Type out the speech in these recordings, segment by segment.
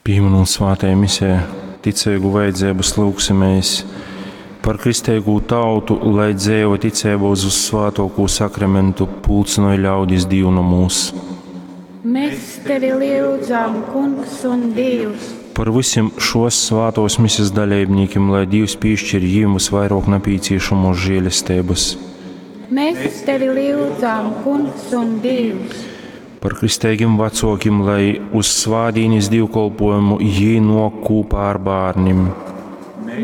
Pīminūt svātajā misē ticeigu vajadzeibys, lyugsimēs par kristeigū tautu, lai dzeiva ticeiba uz vyssvātuokū sakramentu pulcynoj ļaudis dīvnomūs. Mēs tevi lyudzam, Kungs un Dīvs! Par vysim šuos svātuos misis daleibnīkim, lai Dīvs pīškir jim vysvairuok napīcīšamuos žielesteibys. Mēs tevi lyudzam, Kungs un Dīvs! Par kristeigim vacuokim, lai uz svātdīnis dīvkolpuojumu jī nuok kūpā ar bārnim.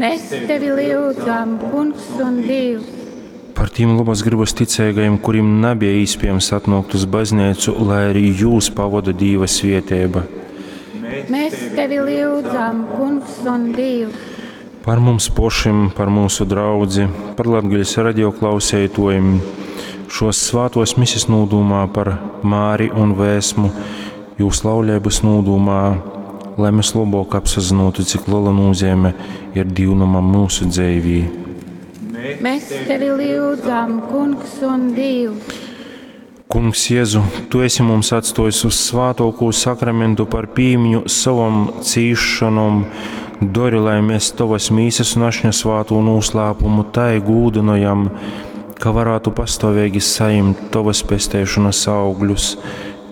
Mēs tevi lyudzam, Kungs un Dīvs! Par tim lobas grybas ticeigajim, kurim nabeja īspiejams atnuokt uz bazneicu, lai arī jūs pavoda Dīva svieteiba. Mēs tevi lyudzam, Kungs un Dīvs! Par mums pošim, par myusu draudzi, par Latgales radio klauseituojim, šuos svātuos misis nūdūmā par Māri un Vēsmu, jūs lauleibys nūdūmā, lai mēs lobuok apsazynuotu, cik lela nūzeime ir dīvnomam myusu dzeivī. Mēs tevi lyudzam, Kungs un Dīvs! Kungs Jezu, Tu esi mums atstuojis vyssvātuokū sakramentu par pīmiņu sovom cīsšonom, dori, lai mēs Tovas mīsas un ašņa svātū nūslāpumu tai gūdynojam, ka varētu pastuoveigi sajimt Tovas pesteišonas augļus,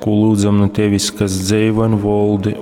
kū lyudzam nu Tevis, kas dzeivoj un voldi.